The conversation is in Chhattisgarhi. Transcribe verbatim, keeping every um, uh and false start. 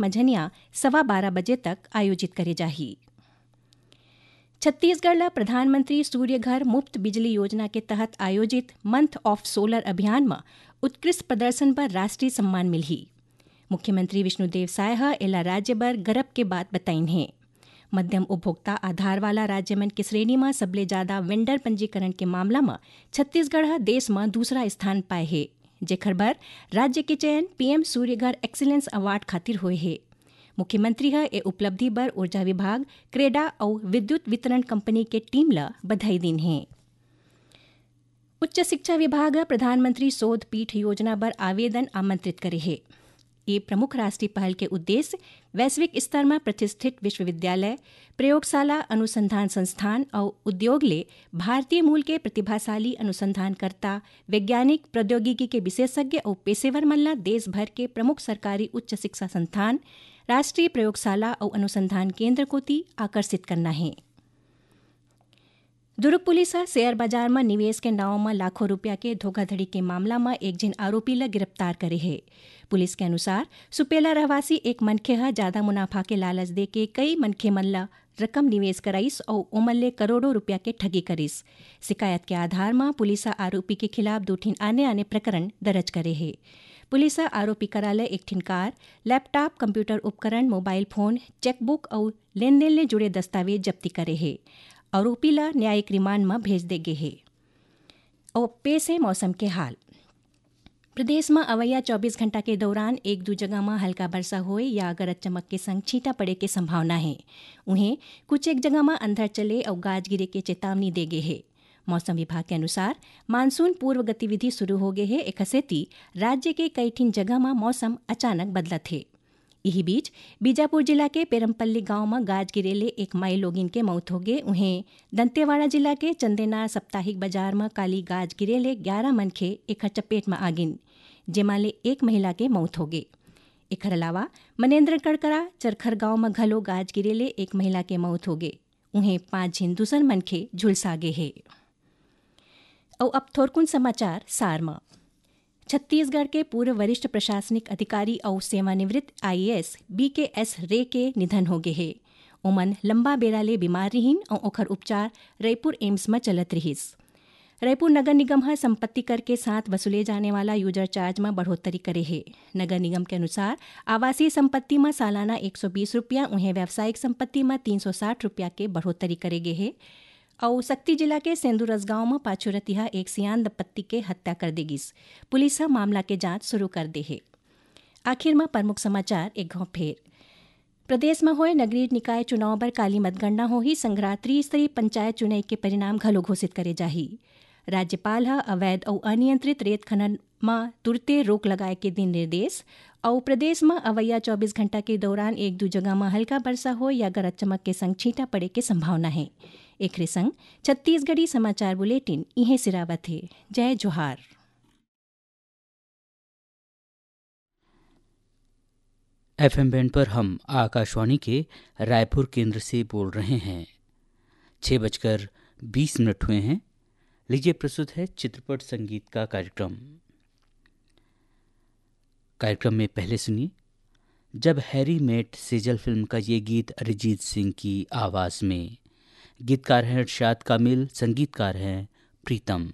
मझनिया सवा बारह बजे तक आयोजित करे जाही। छत्तीसगढ़ ला प्रधानमंत्री सूर्य घर मुफ्त बिजली योजना के तहत आयोजित मंथ ऑफ सोलर अभियान म उत्कृष्ट प्रदर्शन बर राष्ट्रीय सम्मान मिलही। मुख्यमंत्री विष्णुदेव साय ह एला राज्य बर गरब के बात बताइन हे। मध्यम उपभोक्ता आधार वाला राज्य मन के श्रेणी म सबले जादा वेंडर पंजीकरण के मामला म छत्तीसगढ़ ह देश म दूसरा स्थान पाए हे, जेखर बर राज्य के चयन पीएम सूर्य घर एक्सीलेंस अवार्ड खातिर होए हे। मुख्यमंत्री ह ए उपलब्धि बर ऊर्जा विभाग, क्रेडा अउ विद्युत वितरण कंपनी के टीम ल बधाई दीन हे। उच्च शिक्षा विभाग ह प्रधानमंत्री शोध पीठ योजना बर आवेदन आमंत्रित करे हे। ये प्रमुख राष्ट्रीय पहल के उद्देश्य वैश्विक स्तर म प्रतिष्ठित विश्वविद्यालय, प्रयोगशाला, अनुसंधान संस्थान अउ उद्योग ले भारतीय मूल के प्रतिभाशाली अनुसंधानकर्ता, वैज्ञानिक, प्रौद्योगिकी के विशेषज्ञ अउ पेशेवर मन ल देश भर के प्रमुख सरकारी उच्च शिक्षा संस्थान, राष्ट्रीय प्रयोगशाला अउ अनुसंधान केंद्र कोति आकर्षित करना हे। दुर्ग पुलिस ह शेयर बाजार म निवेश के नांव म लाखों रुपया के धोखाधड़ी के मामला म एक झिन आरोपी ल गिरफ्तार करे हे। पुलिस के अनुसार, सुपेला रहवासी एक मनखे ह जादा मुनाफा के लालच देके कई मनखे मन ल रकम निवेश कराइस अउ ओमन ले करोड़ों रुपया के ठगी करिस। शिकायत के आधार म पुलिस ह आरोपी के खिलाफ दू ठिन आने-आने प्रकरण दर्ज करे हे। पुलिस ह आरोपी करा ले एक ठिन कार, लैपटॉप, कंप्यूटर उपकरण, मोबाइल फोन, चेकबुक अउ लेनदेन ले जुड़े दस्तावेज जब्ती करे हे। आरोपी ल न्यायिक रिमांड म भेज दे गे हे। अउ पेश हे मौसम के हाल। प्रदेश म अवइया चौबीस घंटा के दौरान एक दू जगह म हल्का बरसा होए या गरज चमक के संग छींटा पड़े के संभावना हे। उहें, कुछ एक जगह म अंधड़ चले अउ गाज गिरे के चेतावनी दे गे हे। मौसम विभाग के अनुसार, मानसून पूर्व गतिविधि शुरू हो गे हे, एखर सेती राज्य के कई ठिन जगह म मौसम अचानक बदलत हे। इही बीच, बीजापुर जिला के पेरमपल्ली गांव म गाज गिरे ले एक माई लोगिन के मौत होगे। उहें, दंतेवाड़ा जिला के चंदेनार साप्ताहिक बाजार म काली गाज गिरे ले ग्यारह मनखे एखर चपेट म आगिन, जेमा ले एक महिला के मौत होगे। एखर अलावा, मनेन्द्रगढ़ करा चरखर गांव म घलो गाज गिरे ले एक महिला के मौत होगे। उहें, पांच झिन दूसर मनखे झुलसा गे हे। अउ अब थोरकुन समाचार सार म। छत्तीसगढ़ के पूर्व वरिष्ठ प्रशासनिक अधिकारी अउ सेवानिवृत्त आईएएस बीकेएस रे के निधन हो गे हे। ओमन लंबा बेरा ले बीमार रिहिन अउ ओखर उपचार रईपुर एम्स म चलत रिहिस। रईपुर नगर निगम ह संपत्ति कर के साथ वसूले जाने वाला यूजर चार्ज म बढ़ोत्तरी करे हे। नगर निगम के अनुसार, आवासीय संपत्ति म सालाना एक सौ बीस रुपया, उहें व्यावसायिक संपत्ति म तीन सौ साठ रुपया के बढ़ोत्तरी करे गे हे। अउ सक्ती जिला के सेंदुरस गांव म पाछू रतिहा एक सियान दंपत्ति के हत्या कर दे गिस। पुलिस ह मामला के जांच शुरू कर दे हे। आखिर म प्रमुख समाचार एक घौं फेर। प्रदेश म होए नगरीय निकाय चुनाव बर काली मतगणना होही, संघरा त्रिस्तरीय पंचायत चुनई के परिणाम घलो घोषित करे जाही। राज्यपाल ह अवैध अउ अनियंत्रित रेत खनन म तुरते रोक लगाए के दिन निर्देश। अउ प्रदेश म अवइया चौबीस घंटा के दौरान एक दू जगह म हल्का बरसा होए या गरज चमक के संग छींटा पड़े के संभावना हे। एखरे संग छत्तीसगढ़ी समाचार बुलेटिन इहें सिरावत हे। जय जोहार। एफएम बैंड पर हम आकाशवाणी के रायपुर केंद्र से बोल रहे हैं। छः बजकर बीस मिनट हुए हैं। लीजिए, प्रस्तुत है चित्रपट संगीत का कार्यक्रम। कार्यक्रम में पहले सुनिए, जब हैरी मेट सेजल फिल्म का ये गीत अरिजीत सिंह की आवाज़ में। गीतकार हैं इरशाद कामिल, संगीतकार हैं प्रीतम।